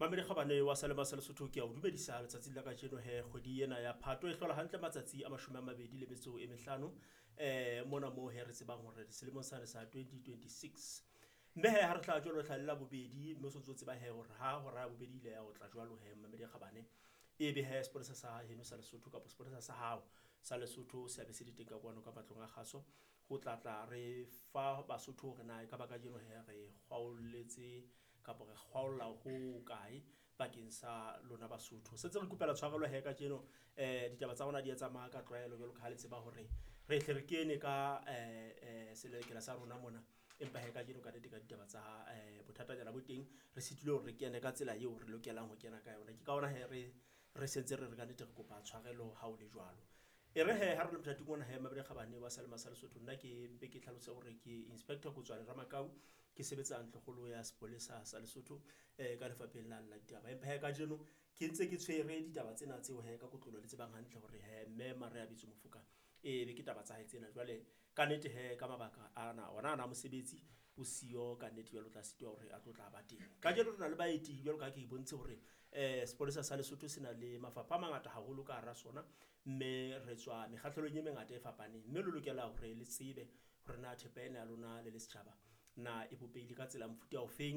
Mamedi Kgabane wa Salema sa Lesotho, ke a o dumedisa letsatsing la kajeno. He kgwedi ena ya Phato e hlola hantle matsatsi a 25 mona moo he re tsebang hore selemong sane sa 2026. Mme he ha re tla jwalo tlhalela bobedi, mme o sontso o tseba he hore ha hora ya bobedi ile ya o tla jwalo he Mamedi Kgabane, e be he sepolesa sa heno sa Lesotho kapa sepolesa sa hao sa Lesotho se abe se le teng ka kwano ka matlong a kgaso ho tla tla re fa Basotho hore na ekaba kajeno he re kgwaolletse kapa re kgwaolla ho kae bakeng sa lona Basotho. Sentse re kopela tshwarelo he kajeno, ditaba tsa rona di a tsamaya ka tlwaelo jwalo ka ha le tseba hore re hle re kene ka selelekela sa rona mona, empa he kajeno ka nnete ka ditaba tsa bothatanyana bo teng, re sitilwe hore re kene ka tsela eo re lokelang ho kena ka yona. Ke ka hona he re sentse re re kannete re kopa tshwarelo ha o le jwalo. E re he ha re le mothating ona he Mabedi Kgabane wa Salema sa Lesotho, nna ke mpe ke tlhalose hore ke Inspector Kotswane Ramakau, ke sebetsa ntlokgolo ya sepolesa sa Lesotho ka lefapheng la ditaba. Empa he kajeno ke ntse ke tshwere ditaba tsena tseo he ka kotlolo le tsebang hantle hore he mme Maria Bitso Mofoka e be ke taba tsa hae tsena. Jwale ka nnete he ka mabaka ana ona ana mosebetsi o siyo ka nnete, jwale o tla sitwa hore a tlo tla ba teng. Kajeno re na le baeti jwalo ka ha ke bontshe hore sepolesa sa Lesotho se na le mafapha a mangata haholo ka hara sona, mme re tswa mekgahlelong e mengata e fapaneng, mme le lokela hore le tsebe hore na thepa ena ya lona le le setjhaba na e bopehile ka tsela ya mofuta ofeng.